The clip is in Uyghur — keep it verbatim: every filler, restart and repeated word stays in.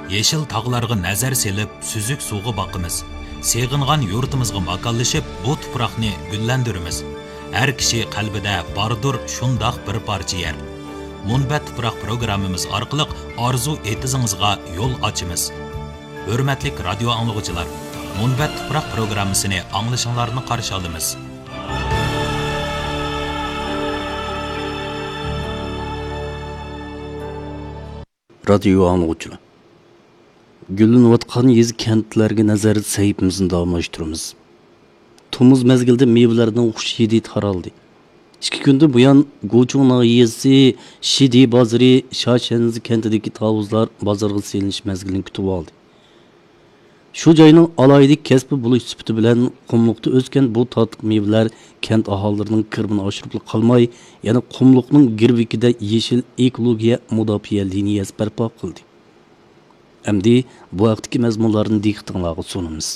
يېشىل تاغلارغا نەزەر سېلىپ، سۈزۈك سۇغا باقىمىز. سېغىنغان يۇرتىمىزغا ماكانلىشىپ، بۇ تۇپراقنى گۈللەندۈرىمىز. ھەر كىشى قەلبىدە باردۇر شۇنداق بىر پارچە يەر. مۇنبەت تۇپراق پروگراممىمىز ئارقىلىق ئارزۇ ئېتىزىڭىزغا يول ئاچىمىز. ھۆرمەتلىك رادىيو ئاڭلىغۇچىلار، مۇنبەت تۇپراق پروگراممىسىنى ئاڭلىشىڭلارنى قارشى ئالىمىز. رادىيو ئاڭلىغۇچىلار، گۈللىنىۋاتقان يېزا كەنتلەرگە نەزەر سەھىپىمىزنى داۋاملاشتۇرىمىز. تومۇز مەزگىلىدە مېۋىلەرنىڭ خۇش ھىدى تارالدى. ئىككى كۈندىن بۇيان، گۇچۇڭ ناھىيەسى شىدى بازىرى شاشەنزى كەنتىدىكى تاۋۇزلار بازارغا سېلىنىش مەزگىلىنى كۈتۈۋالدى. شۇ جاينىڭ ئالاھىدە كەسپى بولۇش سۈپىتى بىلەن، قۇملۇقتا ئۆسكەن بۇ تاتلىق مېۋىلەر كەنت ئاھالىلىرىنىڭ كىرىمىنى ئاشۇرۇپلا قالماي، يەنە قۇملۇقنىڭ گىرۋىكىدە يېشىل ئېكولوگىيە مۇداپىئە لىنىيەسى بەرپا قىلدى. ئەمدى بۇ ھەقتىكى مەزمۇنلارنى دىققىتىڭلارغا سۇنىمىز.